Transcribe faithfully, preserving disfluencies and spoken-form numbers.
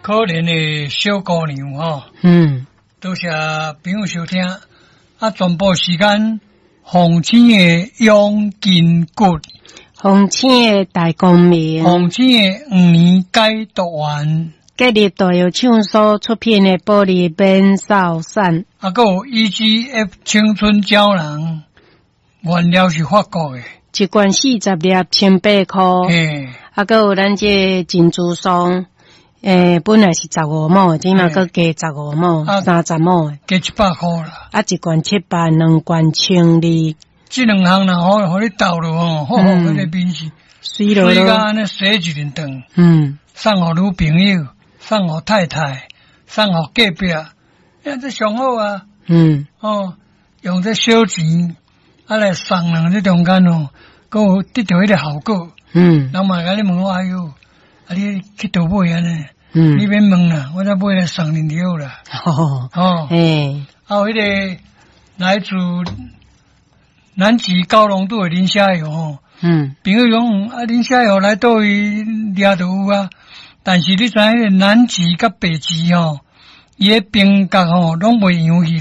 可憐的小姑娘吼。嗯，多謝朋友收聽。啊，全部時間，鳳青的養筋骨，鳳青的大光明，鳳青的黃連解毒丸，吉利大藥廠所出品的保利免掃散，啊，閣有 E G F 青春膠囊，原料是法國的，一罐四十粒，千八箍。嘿，啊，閣有咱這個珍珠霜，欸，本來是十五畝，這馬閣加十五畝，三十畝，加一百箍啦。啊，一罐七百，兩罐千二。這兩項若予予你鬥落吼，好好，彼個面是媠落媠甲按呢洗一輪頓。嗯，送予女朋友，送予太太，送予隔壁，啊，這上好啊。嗯，哦，用這小錢啊來送人這中間哦，閣有得著彼個效果。嗯，人嘛共你問我，哎喲，啊你去佗買按呢？嗯，你免問啦，我才買來送恁就好啦。哦，哦，嘿，啊有彼個來自南極高濃度的磷蝦油吼，嗯，朋友講啊，磷蝦油來佗位掠就有啊，但是你知影彼個南極佮北極吼，伊的冰角吼攏袂溶去。